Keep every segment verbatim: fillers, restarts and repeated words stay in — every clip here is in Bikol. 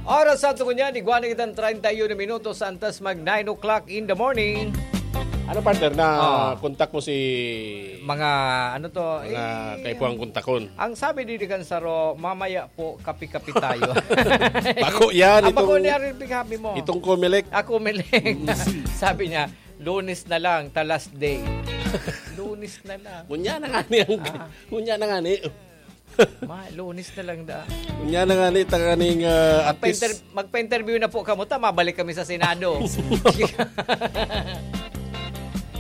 Oras sa tungo niya, igwa na kitang treinta y uno minutos antes mag nine o'clock in the morning. Ano, partner, na Ah. kontak mo si Mga ano to, mga eh, kaipuhan kontakon? Ang sabi di kan saro, mamaya po, kapi-kapi tayo. Bako yan, Ah, bako itong, ni Ariel Pighabi mo. itong Comelec. Ako, Melek. Sabi niya, lunes na lang, the last day. Lunes na lang. Unya na nga ni ang, Ah. unya na nga ni. Ma, lunes na lang da. Unya na nga ni, tanganing uh, at least. Magpa-inter- magpa-interview na po kamo, ta, mabalik kami sa Senado.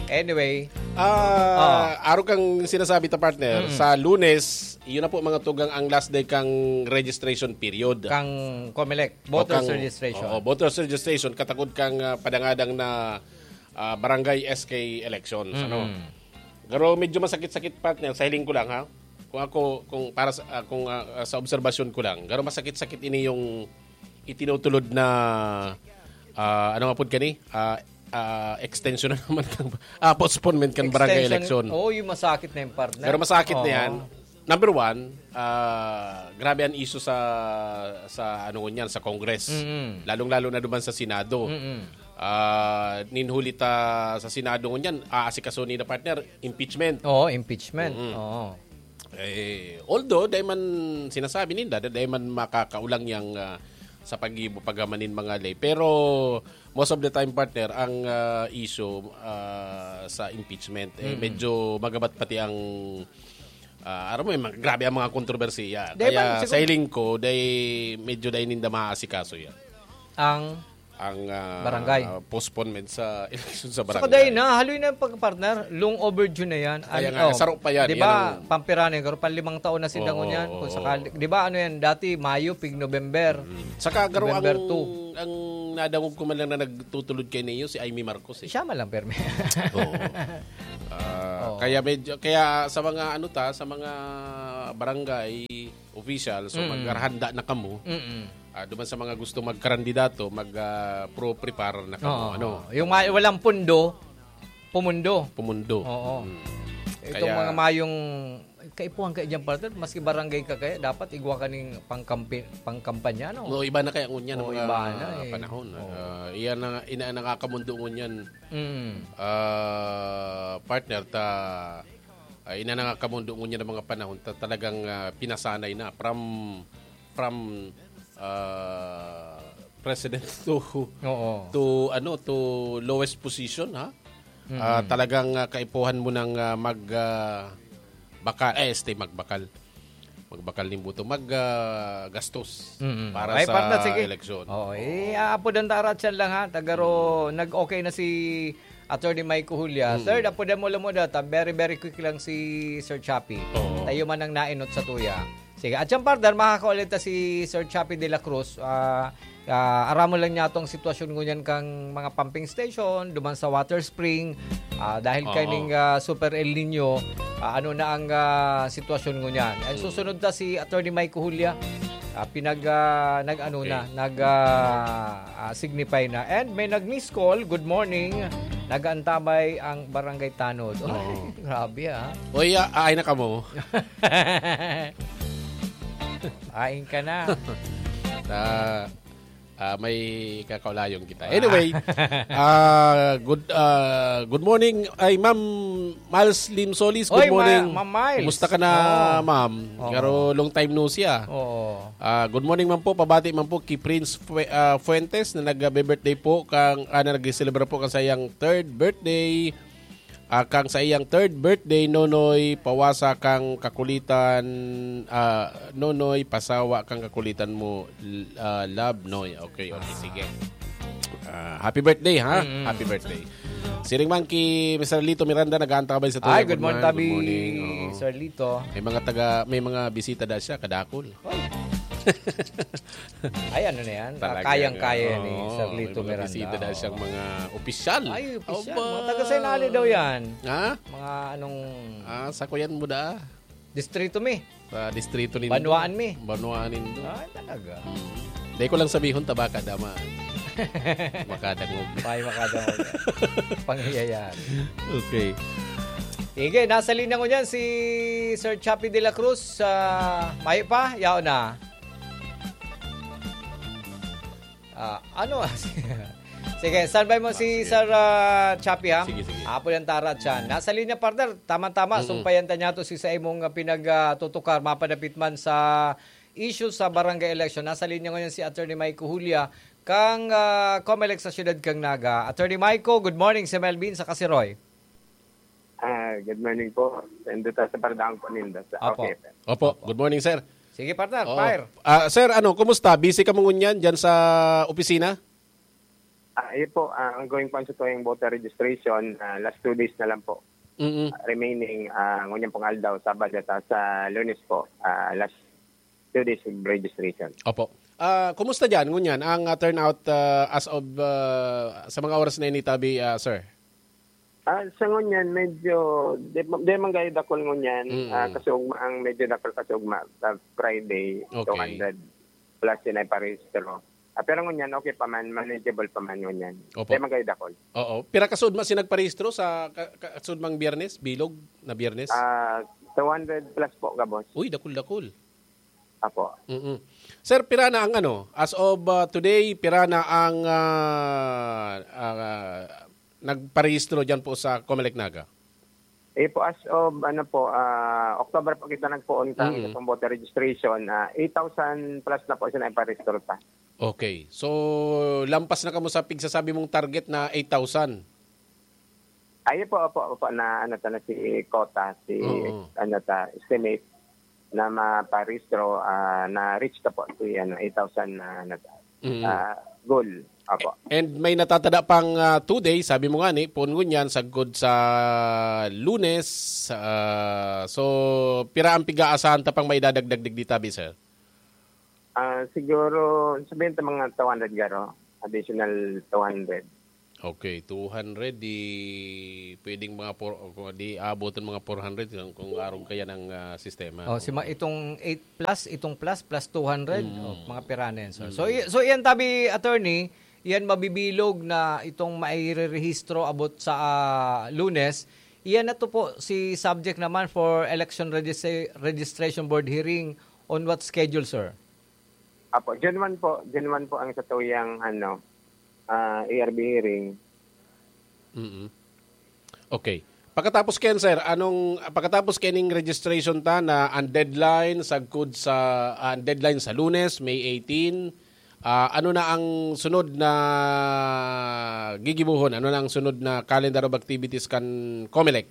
Anyway, Ah, aro kang sinasabi ta, partner, Mm. sa Lunes, yun na po, mga tugang, ang last day kang registration period. Kang Comelec, O voters kang- registration. Oo, voters registration, katagod kang ah, padangadang na ah, barangay S K elections, ano. Mm. Pero medyo masakit-sakit, partner, sa hiling ko lang, ha. Kung ako, kung para sa, ah, kung ah, sa obserbasyon ko lang, pero masakit-sakit ini yung itinutulod na ah, ano nga pud kani? Ah, ah, extension na naman kan ah, postponement kan barangay Extension. Election. Oo, yung masakit na yung partner. Pero masakit na Oo. yan. Number one, ah, grabe ang issue sa sa ano ngunyan, sa Congress. Mm-mm. Lalong-lalo na duman sa Senado. Mm-mm. Ah, ninhuli ta sa Senado ngunyan, aasikaso ni na, partner, impeachment. Oo, impeachment. Mm-mm. Oo. Eh, although, dahil man sinasabi ninda, dahil man makakaulang yang ah, sa pag-ibo, pagamanin mga lay. Pero, most of the time, partner, ang ah, issue ah, sa impeachment, eh, Mm. medyo magabat pati ang ah, aram mo, yung mga, grabe ang mga kontrobersiya. Dahil Kaya man, siguro- sa hiling ko, dahil medyo dahil ninda maaasikaso yan. Ang Ang ah, Barangay. ah, postponement sa election sa Saka barangay. dahil na, haloy na yung pagpartner, long overdue na yan. Kaya Ano, nga, saro pa yan. Di Yan ba, ang pampira na yung, pero panlimang taon na sila Oo, ngunyan. oo, Kung oo. sakali, di ba, ano yan, dati, Mayo, Pig, November. Saka garo ang, November two. ang nadangog ko man lang na nagtutulod kay Neo, si Imee Marcos eh. Siya man lang, permi. Oo. Ah, Oo. Kaya medyo, kaya sa mga ano ta, sa mga barangay official, so Mm. maghahanda na kamo. Mm-mm. Ah, duman sa mga gusto magkarandidato, mag ah, pro prepare na kamo, Oo. ano. Yung ma- walang pundo, pumundo. Pumundo. Oo. Mm. Itong Kaya- mga mayong kaipuhan kayo dyan, partner, maski barangay ka kaya, dapat igwa ka ning pangkampi, pangkampanya, no? No, iba na kaya ngunyan ang Oo, mga iba na eh. panahon. Oo. Ah, iyan na, ina, nakakamundo ngunyan, Mm. ah, partner, ta, ah, ina, nakakamundo ngunyan ang mga panahon, ta, talagang ah, pinasanay na from, from ah, president to, Oo. to, ano, to lowest position, ha? Mm. Ah, talagang ah, kaipuhan mo ng ah, mag ah, bakal, eh, este, magbakal. Magbakal ning buto, mag ah, gastos Mm-mm. para Ay, sa partner, sige. Eleksyon. Oo, eh, aapodan ta aratyan lang ha. Tagaro, nag-okay na si Attorney Mike Julia. Mm. Sir, apodan mo lang mo data. Very, very quick lang si Sir Chappie. Oo. Tayo man ang nainot sa tuya. Sige, at siyang partner, makakaulit na si Sir Chappie de la Cruz. Ah, ah, aramo lang niya itong sitwasyon ngunyan kang mga pumping station, duman sa Water Spring. Ah, dahil Oo. kaining ah, Super El Nino, ah, ano na ang ah, sitwasyon ngunyan. And Mm. susunod ta si Attorney Mike Julia. Ah, pinag ah, nag ano Okay. na, nag ah, ah, signify na. And may nag-miss call, "Good morning." Nag-aantabay ang Barangay Tanod. Oy, Oo. grabe ah. Oy, ah, ay na kamo. Ain ka na. Ah, ah, may kakaulayon kita. Anyway, ah, good ah, good morning ay Ma'am Miles Lim Solis. Good Oy, Ma- morning. Ma'am Miles. Kumusta ka na, Oo. Ma'am? Oo. Pero long time no siya. Oo. Ah, good morning man po, pabati man po kay Prince Fue- ah, Fuentes na nag-birthday po kang ah, na nag-celebrate po kang sa iyang third birthday. Ah, kang sa iyang third birthday, Nonoy, pawasa kang kakulitan, ah, Nonoy, pasawa kang kakulitan mo, l- ah, love, Noy. Okay, okay, sige. Ah, happy birthday, ha? Mm-mm. Happy birthday. Siring man ki Mister Lito Miranda, nag-aantabay sa Ay, tuya. good morning, Good tabi, morning. Oo. Sir Lito. May mga taga, may mga bisita da siya, kadakol. Ay, ano na yan? Ah, Talaga kayang-kaya nga. ni Oo, Sir Lito may mga Miranda. bisita da siyang mga opisyal. Ay, opisyal. Aba. Mga taga Sainali daw yan. Ha? Mga anong Ah, sakuyan mo da. Distrito mi. Sa distrito nindo. Banwaan mi. Banwaan nindo. Ay, talaga. Dahil ko lang sabihon, tabaka dama. Makadangog. May makadangog. Pangyayari. Okay. Sige, nasa linya ko niyan si Sir Chappie de la Cruz. Ah, mayo pa? Yaon na. Ah, ano? Sige, standby mo si Sir, ah, Chappie, ha? Sige, sige. Apo yan, Tara, Chan. Nasa linya, partner. Tama-tama, Mm-mm. sumpayan ta niya to si sa imong, ah, pinagtutukar, mapadapit man sa issue sa barangay election. Nasa linya ngayon si Attorney Mike Julia, kang, ah, Comelec sa siyudad kang Naga. Attorney Mike, good morning, si Melvin sa Kasiroy. Ah, good morning po. Nandito sa Pardaang po ninda sa Opo. Okay, sir. Opo, Opo. good morning, sir. Sige, partner, Oo. fire. Ah, sir, ano, kumusta? Busy ka mo ngunyan dyan sa opisina? Ah, ayun po, ah, ongoing po ang sa tuwing voter registration, ah, last two days na lang po. Mm-mm. Ah, remaining, ah, ngunyan pong aldaw, Sabado at sa Lunes po, ah, last two days of registration. Opo. Ah, kumusta dyan ngunyan ang, ah, turnout, ah, as of, ah, sa mga oras na ini, tabi, ah, sir? Ah, sa ngunyan, medyo, di, di man gayo dakol ngunyan. Mm. Ah, kasugma, ang medyo dakol kasugma, sa Friday, Okay. two hundred plus yun ay parehistro. Ah, pero ngunyan, okay pa man, manageable pa man ngunyan. Opo. Di man gayo dakol. Oo. Pira kasugma si nagparehistro sa ka-, ka-, kasugmang Biyernes? Bilog na Biyernes? Ah, two hundred plus po, gabos. Uy, dakul-dakul. Apo. Mm-mm. Sir, pira na ang ano, as of, ah, today, pira na ang, ah, ah, nagparehistro dyan po sa Comelec Naga? Eh po, as of, ano po, ah, October po kita nagpoon kang Mm. itong voter registration, ah, eight thousand plus na po siya naiparehistro ta. Okay. So, lampas na kamo sa pigsasabi mong target na eight thousand? Ay, opo, opo, opo, na ano ta na si quota, si Oo. ano ta, estimate na maparehistro, ah, na reach ta po si ano, eight thousand na, na Mm. ah, goal. Opo. And may natatada pang, ah, two days, sabi mo nga ni, poon ngunyan, sagkod sa Lunes. Ah, so, pira ang pig-aasahan ta pang maidadagdag digdi tabi, sir? Ah, siguro, sabihin ta mga two hundred garo, additional two hundred. Okay, two hundred, di pwedeng mga four, o di aaboton mga four hundred kung, kung arog kaya ng, ah, sistema. Oh, si ma-, Oo. itong eight plus, itong plus, plus two hundred, Mm. oh, mga pira na yan, sir. So, Mm. i-, so iyan tabi, attorney, iyan mabibilog na itong mairerehistro abot sa, ah, Lunes. Iyan na to po si subject naman for election registry-, registration board hearing on what schedule, sir? Apo, June one po. June one po ang satuyang, ano, ah, A R B hearing. Mm. Okay. Pagkatapos kayan, sir, anong, pagkatapos kaning registration ta na ang deadline sagkod sa, ah, ang deadline sa Lunes, May eighteen, ah, ano na ang sunod na gigibohon? Ano na ang sunod na calendar of activities kan Comelec?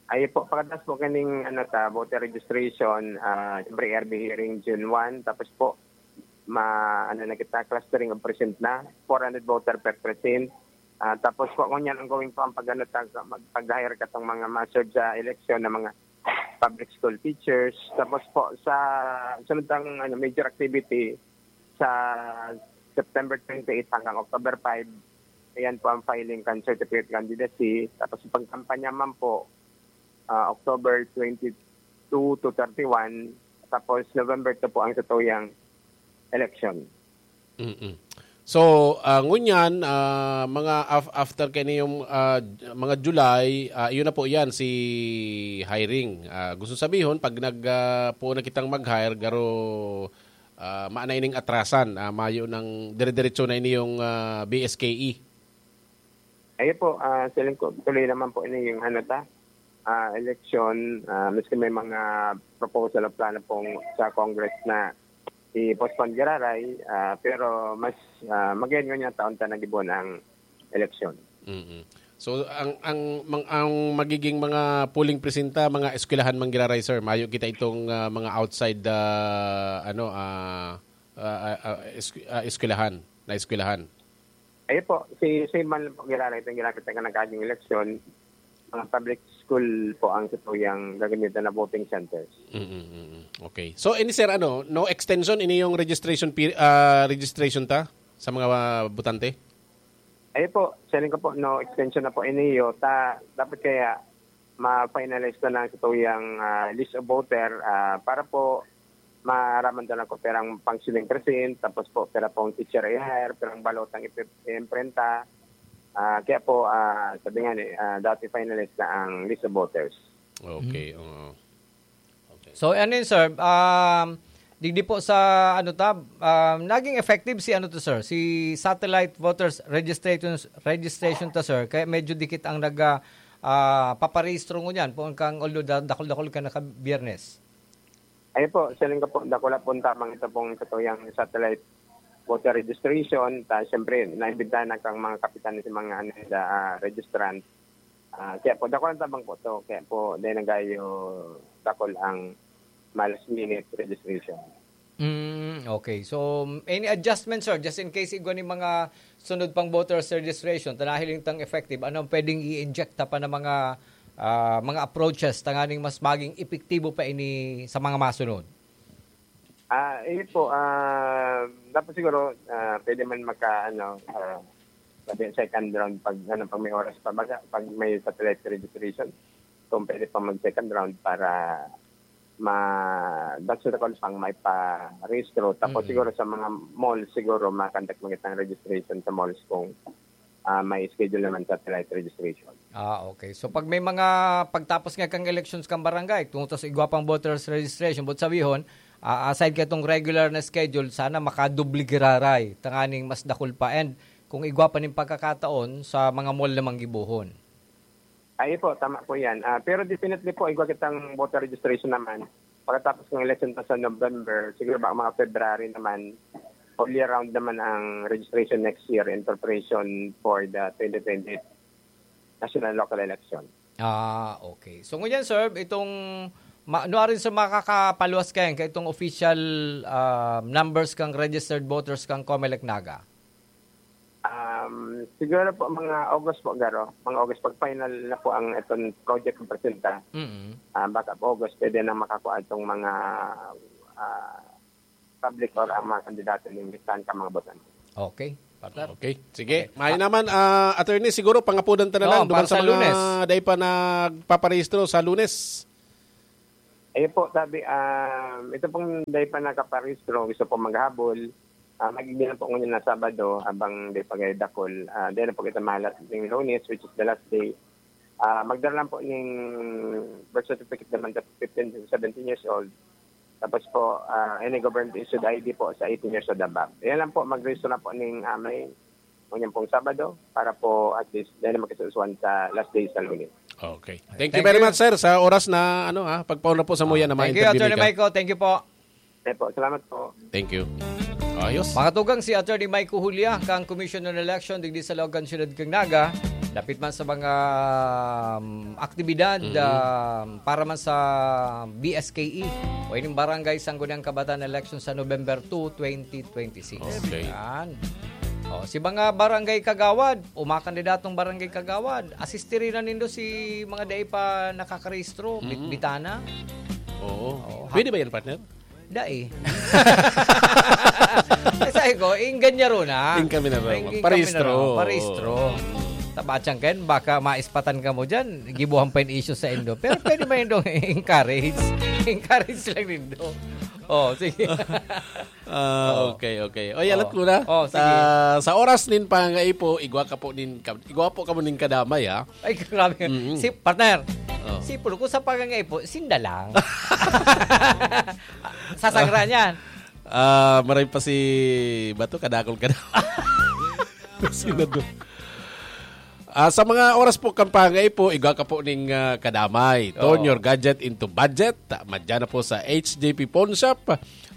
Ay po, pagkatapos po kaning, ano ta, voter registration, ah, siyempre, A R B hearing June one, tapos po, ma-, ano na kita, clustering of precinct na, four hundred voter per precinct. Ah, tapos po, ngunyan ang gawin po ang pag-, ano, tag-, mag-, pag-hire katong mga ma-serve sa eleksyon na mga public school teachers. Tapos po, sa sunod tang, ano, major activity, sa September twenty-eight hanggang October five, ayan po ang filing kan certificate candidacy. Tapos, pagkampanya man po, ah, October twenty-two to thirty-one, tapos November two po ang satuyang election. Mm-mm. So, ah, ngunyan, ah, mga af-, after kaini yung, ah, mga July, ah, iyon na po yan, si hiring. Ah, gusto sabihon, pag nag, ah, po na kitang mag-hire, garo, ah, maana ining atrasan, ah, mayo nang dire-diretso na ini yung, ah, B S K E. Ayun po, ah, siling ko, tuloy naman po ini yung ano ta, ah, eleksyon, ah, maski may mga proposal o plano pong sa Congress na i-postpone giraray, ah, pero mas, ah, magayon ngunyan taon ta nagibo ang eleksyon. Mm. So, ang, ang, mang-, ang magiging mga polling precinct ta, mga eskwelahan man giraray, sir. Mayo kita itong, ah, mga outside, ah, ano, ah, ah, ah, ah, esku-, ah, eskwelahan, na eskwelahan. Ayun po, si, si man lang po giraray itong ginamit na nagkaging eleksyon. Mga public school po ang satuyang gagamitan na voting centers. Mm, mm, mm. Okay. So, ini, sir, ano, no extension, ini yung registration peri-, ah, registration ta sa mga botante? Ayun po, siling ko po, no extension na po ini, yo. Ta, dapat kaya ma-finalize na lang sa tuyang, ah, list of voter, ah, para po maaraman na lang kung pirang functioning precinct, tapos po pira pong teacher i-hire, pirang balotang ipi-, iimprenta. Ah, kaya po, ah, sabi nga ni, ah, dapat i-finalize na ang list of voters. Okay, Mm. oo. Okay. So, ano yun, sir? Um, Digdi po sa, ano ta, ah, naging effective si, ano to, sir, si satellite voters registration, registration to, sir. Kaya medyo dikit ang nag, ah, ah, paparehistro ngunyan, po kang, although da-, dakul-dakul ka na ka Biyernes. Ayun po, siling ko po, dakula po tabang ito pong katuyang satellite voter registration. Ta, siyempre, naimbitahan na kang mga kapitan sa mga, ano, da, ah, registrant. Ah, kaya po, dakula tabang po to. Kaya po, dahil nagayo, dakul ang ma-last minute registration. Mm, okay. So, any adjustment, sir, just in case igwa ni mga sunod pang voters registration, ta nahiling tang effective, ano ang pwedeng i-inject ta pa na mga, ah, mga approaches tanganing mas maging epektibo pa ini sa mga masunod? Ah, yun po, ah, dapat siguro, ah, pwede man maka, ano, ah, sabi, second round pag, ano, pag may oras pa, baga, pag may satellite registration, kung pwede pa mag-second round para ma-, that's what I call pang may pa-rehistro. Tapos Mm. siguro sa mga malls, siguro ma-conduct mo kitang registration sa malls kung, ah, may schedule naman satellite registration. Ah, okay. So, pag may mga pagtapos nga kang elections kang barangay, kung tos igwa pang voters registration, but sabihon, ah, aside ka itong regular na schedule, sana makadoble giraray, tanganing mas dakul pa. And kung igwa pa ning pagkakataon sa mga mall namang gibohon. Ay po, tama po yan. Ah, pero definitely po, igwa kitang voter registration naman. Pagkatapos ng election pa sa November, siguro ba mga February naman, all year round naman ang registration next year in preparation for the twenty twenty national local election. Ah, okay. So, ngunyan, sir, itong ma-, ano rin sa makakapaluwas kayan, kaya itong official, ah, numbers kang registered voters kang Comelec Naga? Um, siguro po mga August po, Garo. Mga August, pag final na po ang itong project na presenta. Mm. Ah, baka po August, pwede na makakuha itong mga, ah, public or ang mga kandidato ng listahan ka mga botante. Okay, partner. Okay. Sige. Okay. Mayo Ah. naman, ah, attorney, siguro pangapudan ta na Oo, lang duman para sa sa mga Lunes. Dai pa nagpaparehistro sa Lunes. Ayun po, sabi, ah, ito pong dai pa nakaparehistro, gusto po maghabol. Ah, magiging lang po ngunyan na Sabado, habang dai pa kayo dakul. Ah, dai na po kita mahalat ng Lunes, which is the last day. Ah, magdala lang po ng birth certificate naman sa fifteen to seventeen years old. Tapos po, ah, any government issued I D po sa eighteen years old above. Yan lang po, mag-register na po ning, ah, may, ngunyan pong Sabado para po at least dahil makisusuan sa last day sa Lunes. Okay. Thank you Thank very you. much, sir, sa oras na, ano, ha, pagpauna po sa muya na Thank you, ma-interview Attorney nika. Michael. Thank you po. Opo, salamat po. Thank you. Ayos. Makatugang si Attorney Michael Julia, kang Commission on Election, digdi sa Laog kan Siyudad kan Naga. Dapit man sa mga, um, aktibidad, Mm. um, para man sa B S K E o ining Barangay Sangguniang Kabataan Election sa November two, twenty twenty-six. Okay. Yan. O, si mga barangay kagawad, o mga kandidatong barangay kagawad, asistiri na nindo si mga dai pa nakakarehistro, Mm. bitbitana. Oo. Oo, ha- Pwede ba yan, partner? Dai. Eh, sabi ko, inggan niya ron, ha? Ing kami na ron. Ing, ing kami na Parehistro. ron. Parehistro. Tabatsang ken, baka maispatan ka mo dyan, gibuhan pa yung issue sa indo. Pero pwede ba yung encourage? Encourage lang nindo. Oh, sige. Ah, Oh. okay, okay. Oy, alat Oh. ko na. Oh, sige. Sa, sa oras nin pangaipo, igwa ka po nin ka-, igwa po ka mo nin kadamay, ha? Ay, grabe. Mm-mm. Si, partner, Oh. si Pulko sa pangangaipo, sinda lang. Sa sangra niyan. Ah, maray pa si Bato, kadakol ka daw. Senador. Ah, sa mga oras po kan pangaipo, igwa ka po ning, ah, kadamay. Turn Oo. your gadget into budget. Madyan na po sa H J P Pawn Shop.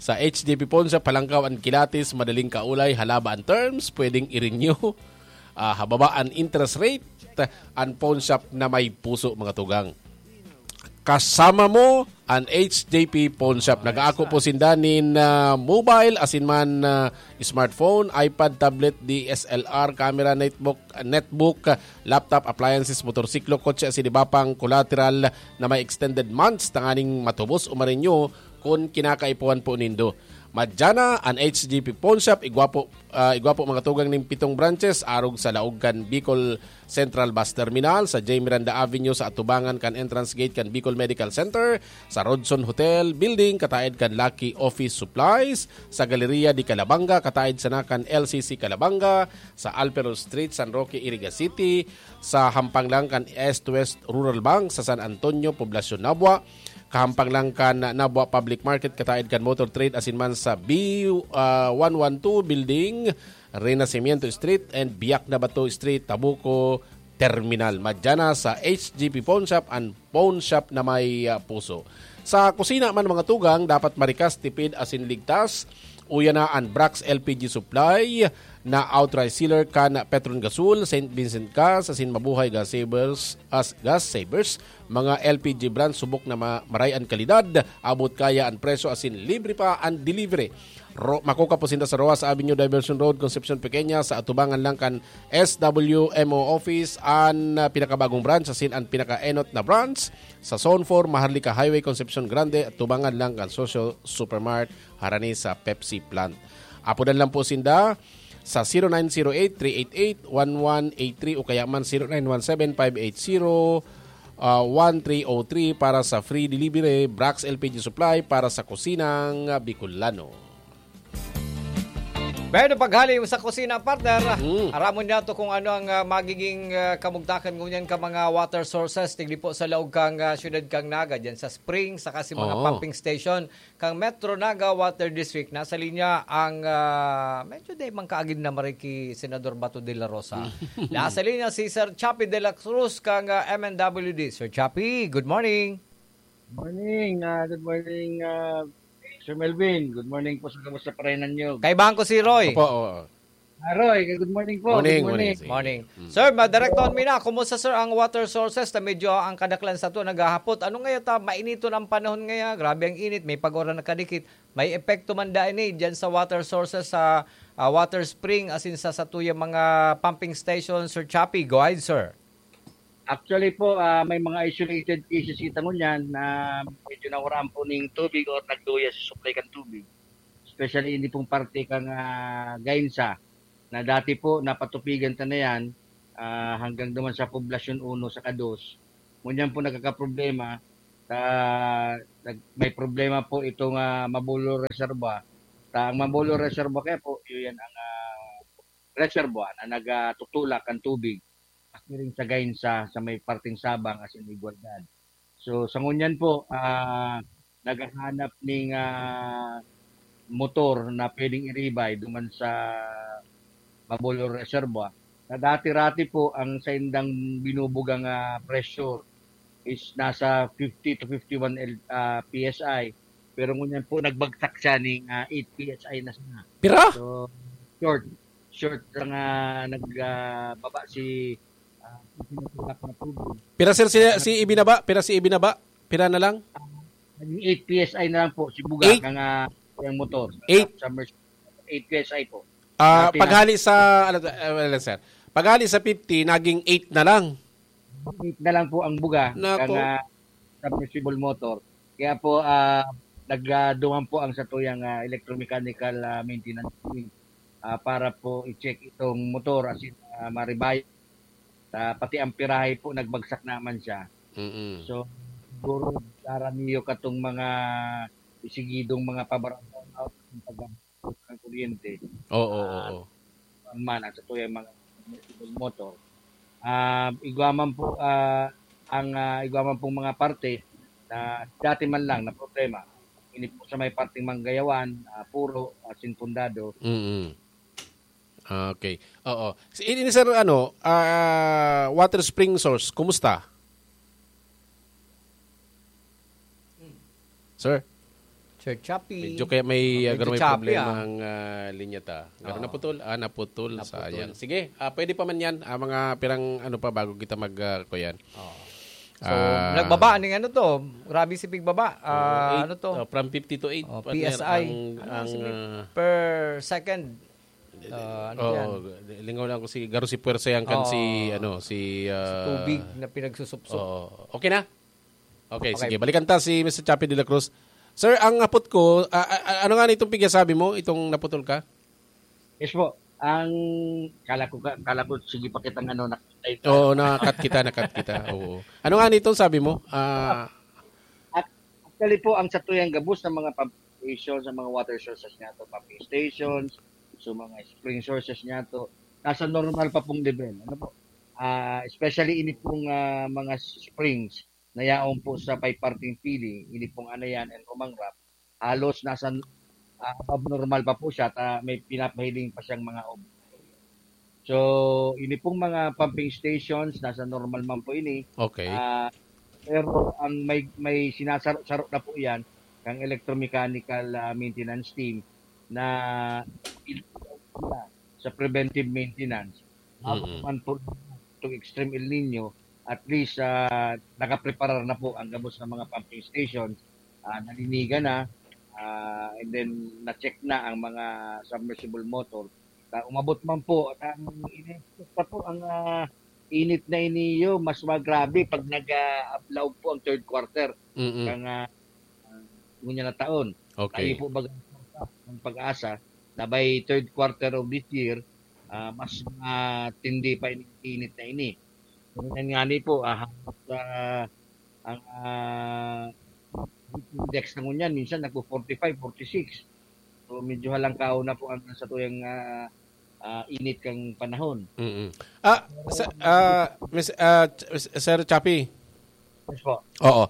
Sa H J P Pawn Shop, halangkaw an kilatis, madaling kaulay, halaba an terms, pwedeng i-renew. Ah, hababa an interest rate, an pawn shop na may puso, mga tugang. Kasama mo an H J P Pawn Shop. Nag-aako po sinda nin, ah, mobile, asin man, ah, smartphone, iPad, tablet, D S L R, camera, netbook, netbook, laptop, appliances, motorsiklo, kotse, asin iba pang collateral na may extended months tanganing matubos o ma-renew kun kinakaipuhan po nindo. Madyan na an H J P Pawn Shop, igwa po, ah, igwa po mga tugang nin pitong branches, arog sa laog kan Bicol Central Bus Terminal, sa J Miranda Avenue sa atubangan kan entrance gate kan Bicol Medical Center, sa Rodson Hotel Building, kataed kan Lucky Office Supplies, sa Galleria de Calabanga, kataed sana kan L C C Calabanga, sa Alpero Street, San Roque, Iriga City, sa hampang lang kan East West Rural Bank, sa San Antonio, Poblacion, Nabua, kahampang lang kan Nabua Public Market, kataed kan Motor Trade, asin man sa B, ah, one one two Building, Renacimiento Street and Biak na Bato Street, Tabuco Terminal. Madya na sa H G P Phone Shop, an phone shop na may, ah, puso. Sa kusina man, mga tugang, dapat marikas, tipid, asin ligtas. Uya na an Brax L P G Supply na authorized seller kan Petron Gasol, Saint Vincent Gas, asin Mabuhay Gas Savers, as Gas Savers, mga L P G brand, subok na ma-, maray an kalidad, abot kaya an presyo, asin libre pa an delivery. Ro-, makukuha po sinda sa Roxas Avenue, Diversion Road, Concepcion Pequeña, sa atubangan lang kan S W M O office, an, ah, pinakabagong branch, asin an pinakaenot na branch sa Zone four, Maharlika Highway, Concepcion Grande, atubangan lang kan Socio Supermart, harani sa Pepsi plant. Apodan lang po sinda sa zero nine zero eight, three eight eight, one one eight three o kaya man zero nine one seven, five eight zero, ah, one three oh three para sa free delivery, Brax L P G Supply para sa kusinang Bicolano. Pero paghali mo sa kusina, partner, Mm. aramon niya to kung ano ang ah, magiging ah, kamugtakan ngunyan ka mga water sources, tigdi po sa laog kang ah, syudad kang Naga, dyan sa spring, saka si mga Oo. pumping station kang Metro Naga Water District. Nasa linya ang ah, medyo di man kaagid na mariki Senador Bato de la Rosa. Nasa linya si Sir Chappie de la Cruz kang ah, M N W D. Sir Chappie, good morning. Morning, ah, good morning, ah, Sir Melvin. Good morning po sa kamusta pa rin ninyo. Kaibahan ko si Roy. Opo, oo. Ah, Roy, good morning po. Morning, Good morning. morning. Sige. Morning. Mm. Sir, madirektoon mi na. Kumusta, sir, ang water sources na medyo ang kadaklan sa to naghahapot? Ano ngayon ta? Mainiton ang panahon ngayon. Grabe ang init. May pag-uran na kadikit. May epekto man dahil ni dyan sa water sources, sa ah, water spring, asin sa satuyang mga pumping station, Sir Chappie. Go ahead, sir. Actually po, ah, may mga isolated cases kita ngunyan na medyo nawaraan po ning tubig or nagduya sa supply kan tubig. Especially hindi pong parte kang ah, Gainsa na dati po napatupigan ta na yan ah, hanggang duman sa Poblasyon uno sa Kados. Ngunyan po nagkakaproblema sa nag- may problema po itong ah, Mabolo Reservoir. Ta ang Mabolo Reservoir kaya po, yun yan ang ah, reservoir na nagatutulak ang tubig pakiring sa Gainsa sa may parteng Sabang as in Igualdad. So sa ngunyan po, ah, naghahanap ning ah, motor na pwedeng iribay duman sa Mabolo Reservoir. Na dati-rati po ang saindang binubugang ah, pressure is nasa fifty to fifty-one L, ah, P S I. Pero ngunyan po nagbagsak siya ning ah, eight P S I na siya. Pira? So short, short lang ah, nagbaba si ah, pinatulak na tubig. Pira, sir, si, si ibinaba? Pira si ibinaba? Pira na lang? Naging eight P S I na lang po si Buga Eight? Kang ah, yung motor. Eight? Sa Mercedes, eight P S I po. Ah, Dati paghali sa, ano, uh, well, sir. Paghali sa fifty, naging eight na lang. Eight na lang po ang Buga Nako. Kang ah, submersible motor. Kaya po ah, nagduman po ang satuyang ah, electromechanical ah, maintenance team ah, para po i-check itong motor as in ah, maribay. Ah, pati ang pirahe po nagbagsak naman siya. Mm-mm. So siguro daraniyo katong mga isigidong mga pabarangay out ng pag ng kuryente. Oo, oo, oo. Ang man at ito yung mga motor. Ah, igwa man po ah, ang ah, igwa man pong mga parte na dati man lang na problema. Ini po sa may parteng Manggayawan, ah, Puro, ah, Sinpundado. Mm. Okay. Oo. Si ini, sir, ano, ah, water spring source, kumusta? Sir? Sir Chappie. Medyo kaya may Oh, uh, medyo may choppy, problema ah. ang uh, linya ta. Pero Oo. naputol, ah, naputol, Naputol. Sayang. Sige, ah, pwede pa man 'yan. Ah, mga pirang ano pa bago kita mag uh, kuyan. Oo. So, Ah. nagbaba ning ano to. Grabe si pigbaba. Ah, Eight, ano to? Uh, from fifty to eight. Oh, partner, P S I. Ang, Ano ang sige? uh, Per second. Ah, ano oh, yan? Lingaw lang ko si Garo si Puwersa yan kan Oo. si ano si uh, Tubig na pinagsusupsop. Oh, okay na? Okay, Okay. Sige. Balikan ta si Mister Chappie de la Cruz. Sir, ang apot ko, ah, ah, ano nga nitong pigya sabi mo, itong naputol ka? Yes po. Ang kala ko ka- kala ko sige pa kitang ano na Oo, nakat kita, nakat kita. Oo. Ano nga nitong sabi mo? Ah, At actually po ang satuyang gabos ng mga pump stations, sa mga water sources niya to, pumping stations, so mga spring sources niya to, nasa normal pa pong level. Ano po? Ah, especially ini pong ah, mga springs na yaon po sa Payparting Pili, ini pong Anayan and Rumangrap, halos nasa, ah, abnormal pa po siya, ta may pinapahiling pa siyang mga ob-, so, ini pong mga pumping stations, nasa normal man po ini. Okay. Ah, pero ang may, may sinasaro-saro na po yan, ang electromechanical, ah, maintenance team na sa preventive maintenance. Ako Mm-mm. man po itong extreme El Nino, at least, ah, nakapreparar na po ang gabos ng mga pumping stations, ah, nalinigan na, ah, and then na-check na ang mga submersible motor. Ta-, umabot man po, ta-, ini-expect pa po ang, ah, init na iniyo, mas magrabe pag nag, ah, ablaw po ang third quarter Mm-mm. ng, ah, ah, ngunyan na taon. Okay. Tayo po baga ng pag-asa na by third quarter of this year, ah, mas matindi pa ini, init na ini. Ganyan nga ni po, ah, halos, ah, ang, ah, index na ngunyan, minsan nagpo-forty-five, forty-six. So, medyo halangkaw na po ang sa tuyang, ah, ah, init kang panahon. Mm-mm. Ah, sa, ah, Miss, ah, Ch-, Sir Chappie? Yes po. Oo.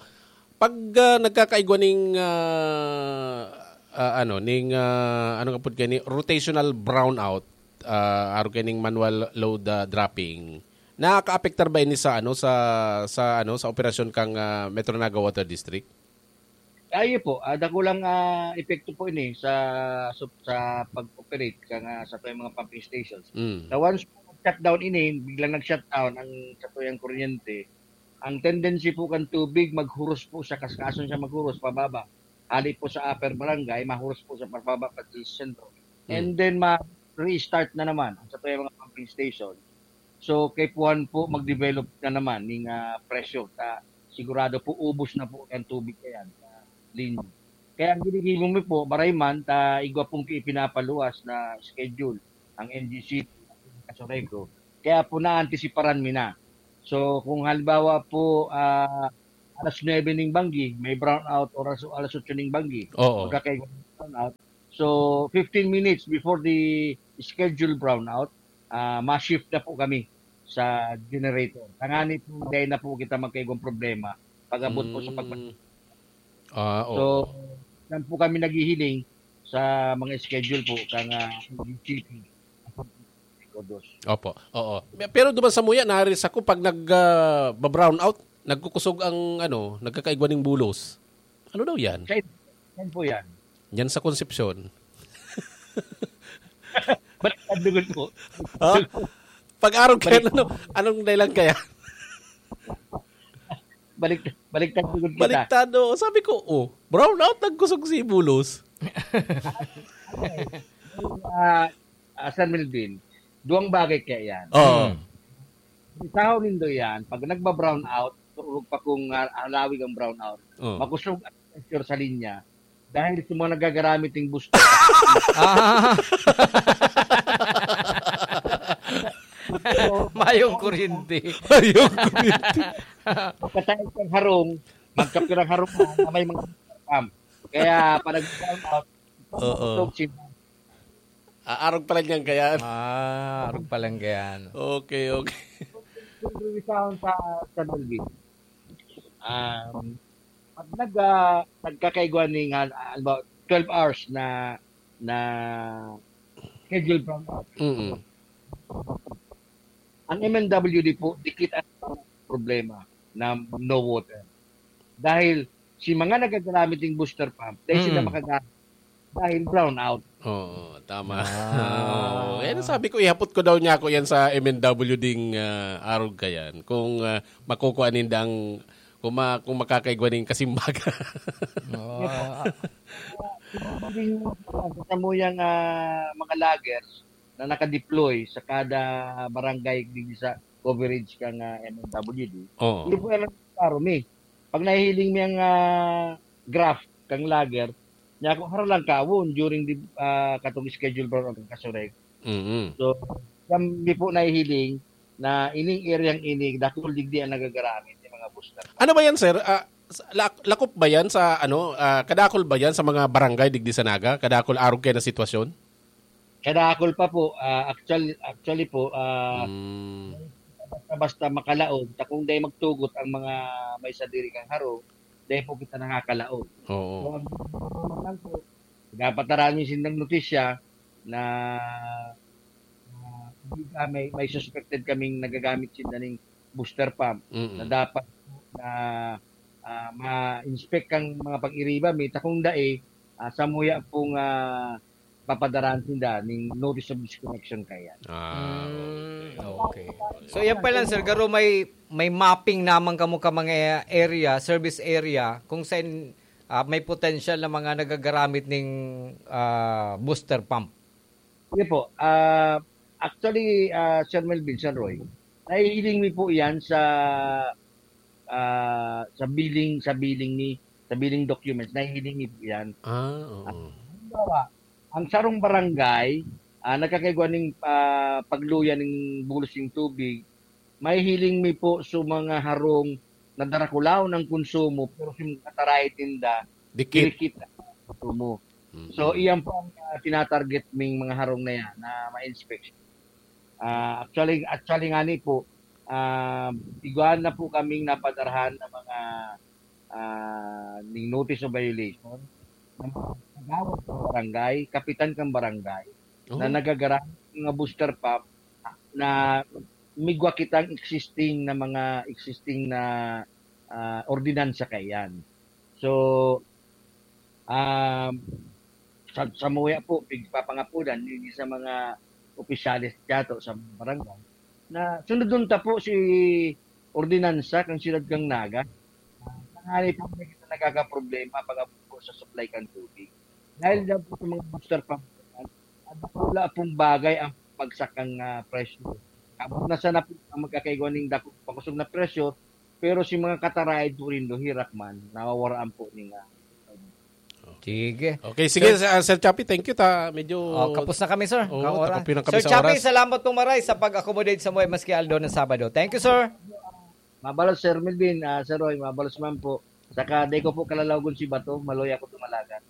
Pag, ah, nagkakaigwa ning, ah, ah, ano, ning, ah, ano nga pud kani, rotational brownout, ah, arog kaning manual load, ah, dropping, nakakaapektar ba ini sa, ano, sa, sa, ano, sa operasyon kang, ah, Metro Naga Water District? Ayo po, ah, dakulang, ah, epekto po ini sa, sa, sa pag-operate kang, ah, sa tuyang mga pumping stations. Mm. Sa once po shutdown ini, biglang nag-shutdown ang sa tuyang kuryente, ang tendency po kan tubig maghuros po siya, kaskason siya maghuros pababa. Hali po sa upper barangay, mahuros po siya pababa pati sa sentro. Mm. And then ma-restart na naman ang sa tuyang mga pumping station. So, kaipuhan po mag-develop na naman ning, ah, pressure ta sigurado po ubos na po ang tubig kayan sa linya. Kaya ang ginigibo mi po, maray man ta igwa pong ipinapaluwas na schedule ang N G C P, Casureco. Kaya po naantisiparan mi na. So, kung halimbawa po, ah, alas nuebe ning banggi, may brownout, oras, alas otso ning banggi, Oo. magkakaigwa ng brownout. So, fifteen minutes before the scheduled brownout, ah, ma-shift na po kami sa generator. Tangani po, dahil na po kita magkaigwang problema pag-abot po sa pag- Mm. Ah, So, oo. yan po kami naghihiling sa mga schedule po kang, ah, G C P. Kodos. Opo, oo. Pero duman sa muya, nari sa ko, pag nag, ah, ba-brownout, nagkukusog ang, ano, nagkakaigwa ning bulos. Ano daw yan? Sa, yan po yan. Yan sa Concepcion. Ba't ang dugon po? Ha? Pag-arog kaya, Balik- ano, anong dahilan kaya? Balik, baliktad dugon kita. Baliktad, oo. Sabi ko, "Oh, brownout, nagkusog si bulos." Ah, ah, Sir Melvin, duwang bagay kaya yan. Oo. Hmm. Isaw nindo yan, pag nagba-brownout, urog pa kung, ah, halawig ang brownout, Oo. makusog ang pressure sa linya dahil sa mga nagagaramit ng booster. Ah. Mayong kuryente. Mayong kuryente. Pagkatapos ng harong, magkapirang harong na, na may mga pump. Kaya, pag nag-brownout, Oo. makusog si Ah, arog pala niyan kaya. Ah, arog pala niyan. Okay, okay. Yung sound sa, sa Melvin. Um, pag nag, ah, nagkakaigwa ni nga, ah, halimbawa, twelve hours na, na schedule from Mm. Ang M N W D po, dikit ang problema na no water. Dahil si mga nagagamit ng booster pump, dahil sila Mm. makagamit dahil brownout. Oo, tama. Ah. Oo. Eh, sabi ko, ihapot ko daw niya ako yan sa M N W ding, ah, arog kayan. Kung, ah, makukuha nindang, kung, ma-, kung makakaigwa ning kasimbaga. Oo. Sa muyang, ah, mga loggers na nakadeploy sa kada barangay digdi sa coverage kang, ah, M N W D, Oo. hindi po yan ang klaro mi. Pag nahihiling mi ang, ah, graph kang logger, niya ako, haro lang kawon during the, ah, katong schedule brown ang kasurek. Mm-hmm. So, kami po nahihiling na ining area ini, dakul digdi ang nagagaramit ng mga booster. Ano ba yan, sir? Ah, sa-, lak-, lakop ba yan sa, ano, ah, kadakul ba yan sa mga barangay digdi sa Naga? Kadakul arog kayo na sitwasyon? Kadakul pa po. Ah, actual-, actually po, ah, Mm. basta-basta makalaog, ta kung dai magtugot ang mga may sadiri kang harong, dai po kita nakakalaog. So, Oo. ang lang po, dapat narami sindang notisya na, na, ah, may, may suspected kaming nagagamit sinda ning booster pump na Mm. dapat na, ah, ma-inspect kang mga pag-iriba mi, ta kung dai, ah, samuya pong, ah, papadarahan sinda ning notice of disconnection kaya. Ah, Mm, okay. okay. So yan pa lang, sir, garo may may mapping naman kamo ka mga area, service area, kung saan ah, may potential na mga nagagaramit ning ah, booster pump. Sige po. Ah, actually, ah, Sir Melvin, Sir Roy, nahihiling mi po yan sa ah, sa billing, sa billing ni, sa billing documents, nahihiling mi po yan. Ah, oo. Halimbawa, ang sarong barangay, ah, nagkakaigwa ning ah, pagluya ning bulos ning tubig, may hiling mi po sa mga harong na darakulaw ng konsumo, pero sa mga kataray tinda, Dikit. dikit ang konsumo. Mm. So, iyan po ang ah, tinatarget ming mga harong na yan na ma-inspection. Ah, actually, actually nga ni po, ah, igwaan na po kaming napadarahan ng mga ah, ning notice of violation ng mga kagawad sa barangay, kapitan kang barangay, Oh. na nagagaramit ng mga booster pump na migwa kitang existing na mga existing na ah, ordinansa kaiyan. So, um, sa, sa muya po, pigpapangapudan, hindi sa mga opisyales tiyato sa barangay, na sunodon ta po si ordinansa kan siyudad kan Naga. Ah, tangali po may kita nagkakaproblema pag-abot po sa supply kan tubig. Dahil daw po sa mga booster pump, ang wala pong bagay ang pagsak ng ah, presyo. Abot na sana po ang magkakaigwa ning dako, pakusog na presyo, pero si mga kataraid po rin, hirak man, nawawaraan po ning ah, Sige. Okay, sige, Sir, Sir Chappie, thank you ta. Medyo Oh, kapos na kami, sir. Oo, Kaora. takapin na kami Sir sa Chappie, oras. Salamat pong maray sa pag-accommodate sa mga maski aldaw ng Sabado. Thank you, sir. Mabalos, Sir Melvin, ah, Sir Roy, mabalos man po. Saka di ko po kalalawagon si Bato, maluya ko tumalagan.